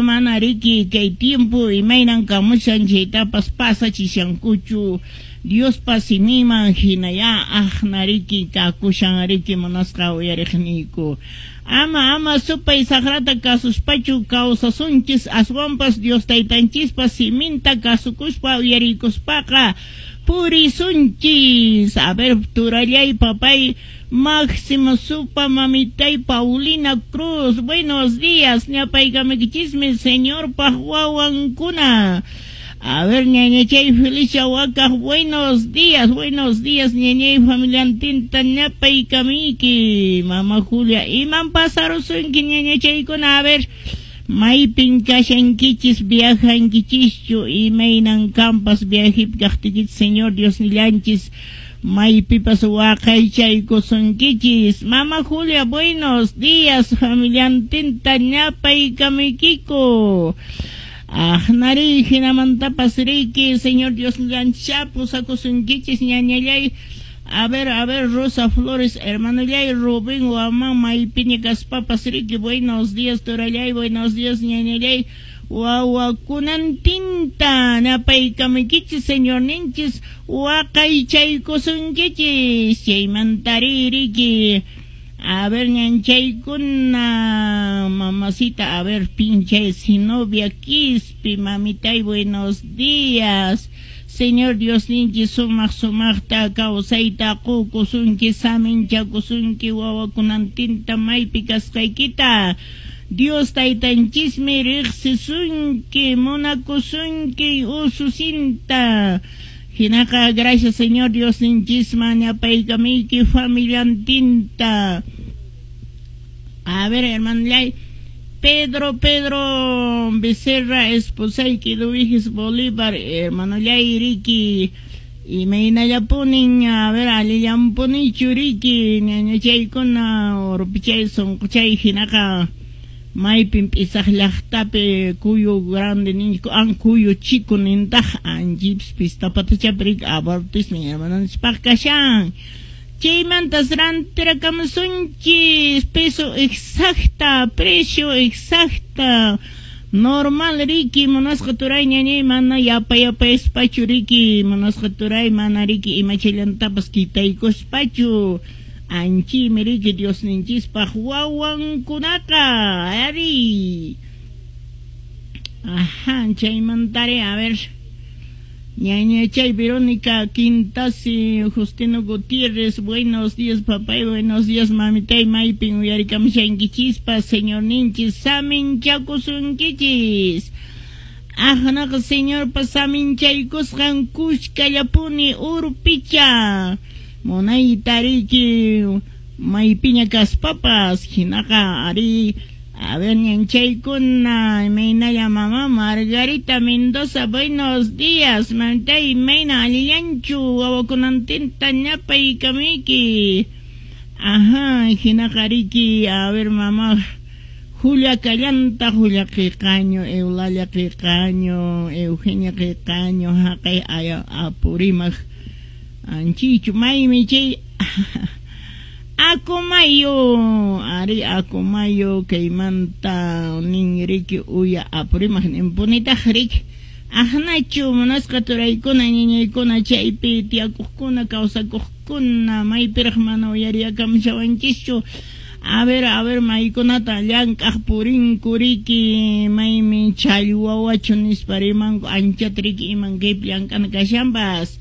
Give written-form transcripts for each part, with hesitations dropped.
Mana riki kay tiempo imaynan kamushan chaytapas pasachishankuchu. Diospa simiman hinaya aqna riki kakushan riki munasqa uyariqniyku. Ama ama supay saqrata kasuspachu kawsasunchis, aswanpas Dios taytanchispa siminta kasukuspa uyarikuspaqa purisunchis. A ver, turallay papay Máximo Supa, mamitay Paulina Cruz, buenos días, ñapaykamikichismi Señorpaq wawankuna. A ver, ñañachay Felicia Wakaj, buenos días, ñañay familiantinta ñapaykamiki. Mama Julia, iman pasarusunki ñañachaykuna, a ver, maypin kashankichis, viajankichischu, imaynan kampas viajipi kaqtikichis, Señor Dios nillanchis, maypipas waqaychaykusunkichis. Mama Julia, buenos días, familiantinta ñapaykamikiku. Aqnari hinamantapas riki, Señor Dios nillanchis, pusakusunkichis, ñañallay. A ver, Rosa Flores, hermanollay, Rubén Guamán, maypiña kaspapas riki, buenos días, turallay, buenos días, ñañallay. Wawakunantinta napaykamaykichis, Señor ninchis, waqaychaykusunkichis, chaymantari riki. A ver, ñanchaykuna, mamacita, a ver, pinche Sinovia Quispi, mamitay, buenos días. Señor Dios ninchis, sumaq sumaqta kawsayta qukusunki, saminchakusunki, wawakunantinta maypi kasqaykita. Dios taytanchismi riqsisunki, munakusunki, ususinta. Hinaqa, gracias Señor Dios ninchisman, ñapaykamiyki familiantinta. A ver, hermano, Pedro Becerra, esposayki Luis Bolívar, hermano riki, imaynallapunin, a ver, allillampunichu riki, ñañachaykuna, urpichay, sunquchay, hinaqa, maypin p'isaq llaqtapi kuyu grande ninchku, an kuyu chico nintaq, anchipis pistapatachapi riki abortismin hermanonchispaq kashan. Chaymantas rantirakamusunchis, peso exacta, precio exacta, normal riki, munasqa turay ñañay, mana yapa yapaspachu riki, munasqa turay mana riki imachallantapas kitaykuspachu. Anchimi riki Dios ninchispaq wawankunaqa, ari. Ajá, chaymantari, a ver. Ñañachay Verónica Quintasi, Justino Gutiérrez, buenos días papay, buenos días mamitay, maypin uyarikamushankichispa, Señor ninchis, saminchakusunkichis. Aqnaqa Señorpa saminchaykusqan kushkallapuni urpicha. Munayta riki maypiña kaspapas, hinaqa ari. A ver, ñanchaykuna, imaynalla mamá Margarita Mendoza, buenos días, mantay, imayna allillanchu, wawakunantinta ñapaykamiki. Ajá, hinaqa riki, a ver, mamá Julia Callanta, Julia Qiqaño, Eulalia Qiqaño, Eugenia Qiqaño, haqay aya Apurímac, anchichu, maymi chay. Acomayo, ari Acomayo, kaymanta nin riki uya Apurímac ninpunitaq riki. Aqnachu munasqa turaykuna, ñañaykuna, chaypi tiyakuqkuna, kawsakuqkuna, maypiraq mana uyariyakamushawanchischu. A ver, maykunata llank'aq purinku riki, maymi challwawachu nispa rimanku, anchata riki iman kaypi llank'ana kashanpas.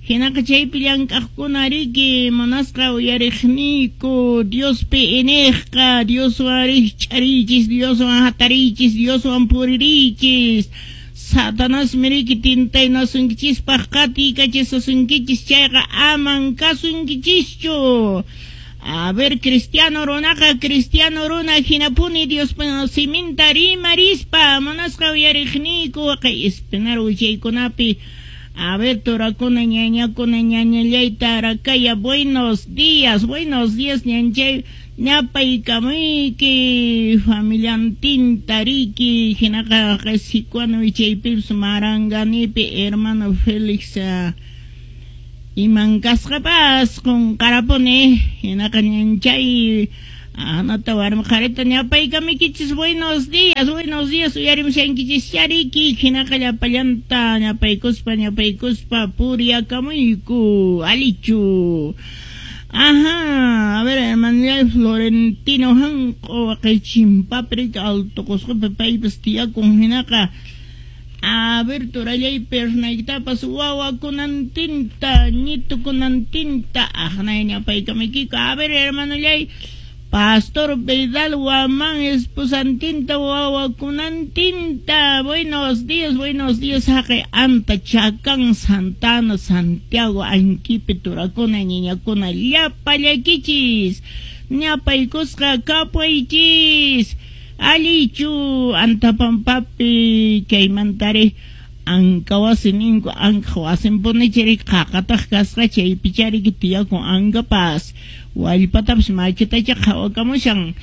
Hinaqa chaypi llank'aqkuna riki, munasqa uyariqniyku, Diospi iniqqa, Dioswan rikch'arichis, Dioswan hatarichis, Dioswan puririchis. Satanasmi riki tintaynasunkichispaq qatiykachisasunkichis, chayqa aman kasunkichischu. A ver, cristiano runaqa, cristiano runa hinapuni Diospa siminta rimarispa, munasqa uyariqniyku, kay espinar wichaykunapi. A ver, turakuna, ñañakuna, ñañallayta, arakaya, buenos días, ñanchay, ñapaykamuyki, familiantinta riki, hinaqa qasikuano wichaypipis maranganipi, hermano Félix, iman kasqapas qunqarapuni, hinaqa ñanchay, Anata warmi qharita ñapaykamiykichis. Buenos días uyarimushankichis chariki hinaqa llapallanta ñapaykuspa ñapaykuspa puriyakamuyku alichu. Ajá, a ver, hermanillay Florentino hanq'u waqay Alto Qusqupi paypas tiyakun hinaqa. A ver, turallay pernaykitapas wawakunantinta ñitukunantinta aqnay ñapaykamuykiku. A ver, hermanillay Pastor Vidal Guamán, esposantinta, wawakunantinta. Buenos días, haqay anta Chacán, Santana, Santiago, Anquipe, turakuna, ñiñakuna, llapallaykichis, ñapaykusqa kapuychis, allichu, antapampapi, chaymantari, anka wasi ninku, anka wasinpunichari, qaqataq kasqa chaypichariki tiyakun ankapas. Wallpatapas machitacha qhawakamushan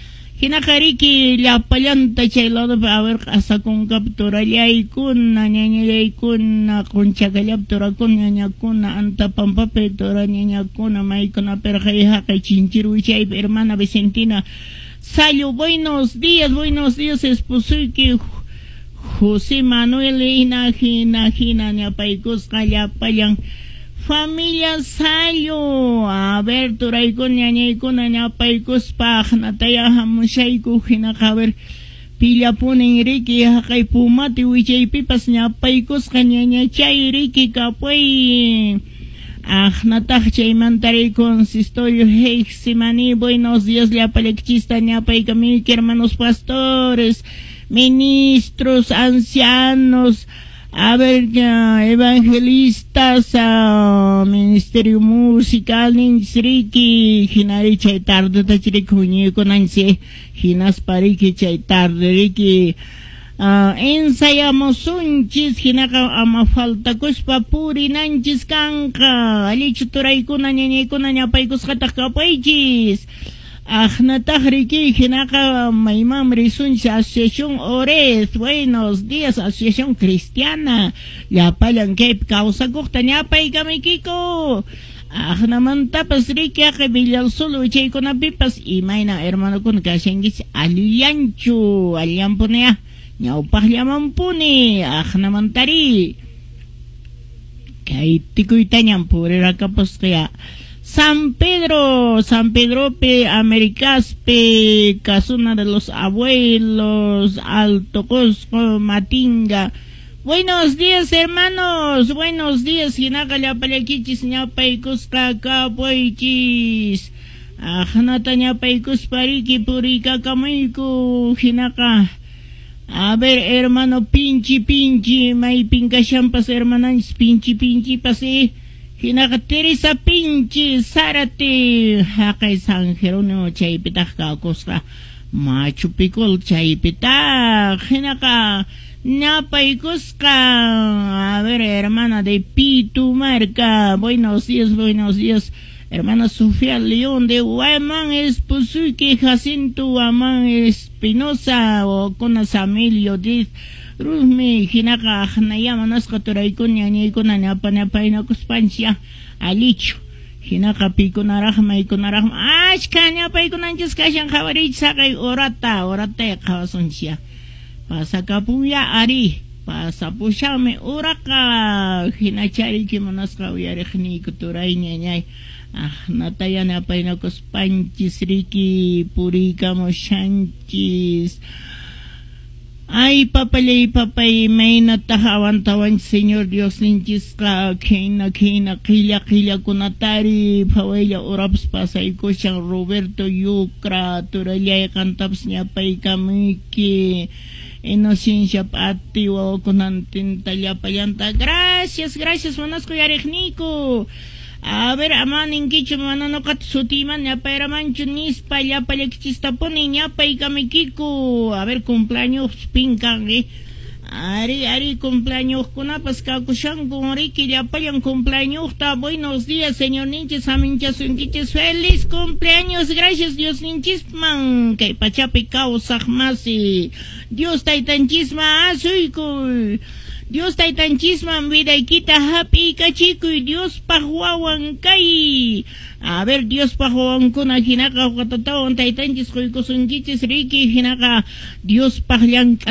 hinaqa riki llapallanta chay ladopi a ver q'asakunkapi turallaykuna ñañallaykuna qunchakallapi turakuna ñañakuna antapampapi tura ñañakuna maykunapirqa haqay chinchirwichaypi hermana Vicentina Sayo, buenos días esposuyki José Manuel hina hina hina ñapaykusqa llapallan familia Sayo. A ver, turaykuna ñañaykuna ñapaykuspa aqnataya hamushayku hinaqa a ver pillapunin riki haqay pumati wichaypipas ñapaykusqa ñañachay riki kapuy. Aqnataq chaymantari consistorio Getsemaní. Buenos días llapallaykichista ñapaykamuyki hermanos pastores, ministros, ancianos, a ver, evangelistas, ministerio musical, ninchis hinari chay tardeta chiriki huñuykunanchis, hinaspa riki chay tarde riki ensayamusunchis, hinaqa ama faltakuspa purinanchis kanqa, allichu turaykuna ñañaykuna ñapaykusqataq kapaychis. Aqnataq riki hinaqa mayman risunchis Asociación Orez. Buenos días, Asociación Cristiana. Llapallan kaypi kawsakuqta ñapaykamuykiku. Aqnamantapas riki haqay Villalsolo wichaykunapipas imayna hermanokuna kashankichis allillanchu, allinpuniya ñawpaqllamanpuni aqnamantari kay tikuytañan puriraqapusqaya. San Pedro, San Pedrope, Americaspe, Casuna de los Abuelos, Alto Cusco, Matinga. Buenos días, hermanos. Buenos días, hinaqa llapallaykichis ñapaykusqa kapuychis. Aqnata ñapaykuspa riki puriykakamuyku hinaqa. A ver, hermano, pinchi, pinchi, maypin kashanpas hermananchis, pinchi, pinchipas, hinaqa Teresa Pinchi, Zárate, haqay San Jerónimo chaypitaq kakusqa, Machu Picchu chaypitaq, hinaqa ñapaykusqa. A ver, hermana de Pitumarca, buenos días, hermana Sofía León de Guamán, esposuyki Jacinto Guamán Espinosa, o con Samilio Diz Ruzmi, hinaqa aqnaya manasqa turaykuna ñañaykuna ñapa ñapaynakuspanchis allichu hinaqa pikunaraqmi maykunaraqmi achka ñapaykunanchis kashan qhawariychis haqay horata horata qhawasunchis pasakapunya ari pasapushanmi uraqa hinachariki munasqa uyariqniyku turay ñañay aqnataya ñapaynakuspanchis riki puriykamushanchis. Ay, papallay, papay, maynataq awantawanchis Señor Dios ninchisqa, khina, khina, qilla, qillakunatari, phawaylla urapas pasaykushan Roberto Yucra, turallay qantapas ñapaykamuyki, Inocencia Pati, wawakunantinta llapallanta. Gracias, gracias, munasqa uyariqniyku. A ver, ama ninkichu mana nuqata sutiyman ñapayramanchu nispa llapallaykichistapuni ñapaykamuykiku. A ver, cumpleaños pinkan, Ari, ari, cumpleañoskunapas kakushanku riki llapallan cumpleañosta. Buenos días, señor ninchis, aminchasunkichis. Feliz cumpleaños, gracias Dios ninchisman. Kay pachapi kawsaq masi. Dios taytanchisman asuykuy. Dios taytanchisman vidaykita hap'iykachikuy, Diospaq wawan kay. A ver, Diospaq wawankuna hinaqa watatawan taytanchis quykusunkichis riki, hinaqa Diospaq llank'a.